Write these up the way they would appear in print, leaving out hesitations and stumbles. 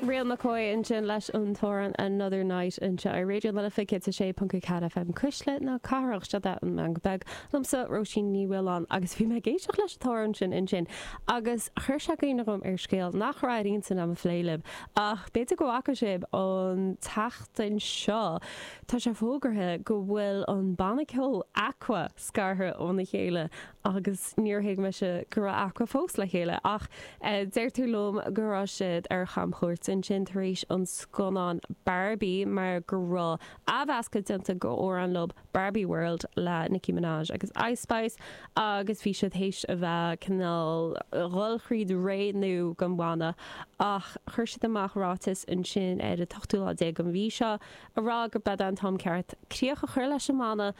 Real McCoy ansin leis an t-amhrán Another Night anseo ar Raidió na Life 106.4 FM Cuisle na Cathrach. Seo é an Meangadh Beag liomsa, Róisín Ní Mhaoláin, agus bhí mé ag éisteacht leis an t-amhrán sin ansin agus chuir sé cuimhne dhom ar scéal nach raibh ar intinn agam a phlé libh ach b'fhéidir go bhfaca sibh an tseachtain seo tá sé fógartha go bhfuil an banna ceoil Aqua scartha óna chéile agus níor thuig mise go raibh Aqua fós le chéile ach deirtear liom go raibh siad ar chamchuairt ansin tar éis an scannán Barbie mar go raibh athmheascadh déanta go amhrán leo Barbie World le Nicki Minaj agus Ice Spice agus bhí siad théis a bheith cineál dhul thríd ré nua don bhanna ach chuir siad amach ráiteas ansin ar an t-ochtú lá déag den mhí seo a rá gurb é an t-am ceart críoch a chur leis an mbanna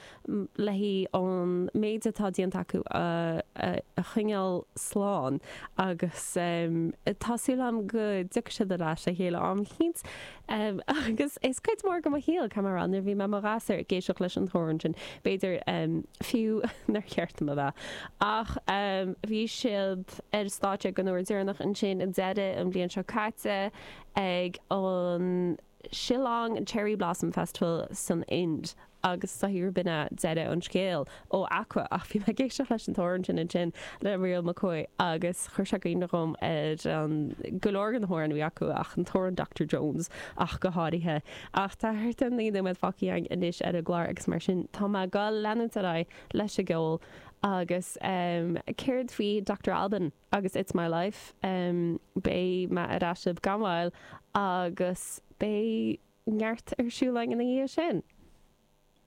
le haghaidh an méid atá déanta acu a choinneáil slán agus tá súil agam go dtiocfaidh siad ar ais le chéile am eicínt agus is cuid mhór de mo shaol, caithfidh mé a rá, nuair a bhí mé i mo ghasúr ag éisteacht leis an t-amhrán sin, b'fhéidir fiú nár cheart dom a bheith. Ach bhí siad ar stáitse den uair deireanach ansin i deireadh an bhliain seo caite ag an Shillong Cherry Blossom Festival san Ind agus is dóichí gurb in é deireadh an scéil ó Aqua ach bhí mé ag éisteacht leis an t-amhrán sin ansin le Real McCoy agus chuir sé i gcuimhne dhom ar an go leor de na hamhráin a bhí acu ach an t-amhrán Doctor Jones ach go háirithe. Ach tá thart ar 9 nóiméad fágtha againn anois ar an gclár agus mar sin tá mé ag dul leanúint ar aghaidh leis an gceol agus céard faoi Doctor Alban? agus It's My Life. Beidh mé ar ais libh gan mhoill agus beidh neart ar siúl againn ina dhiaidh sin.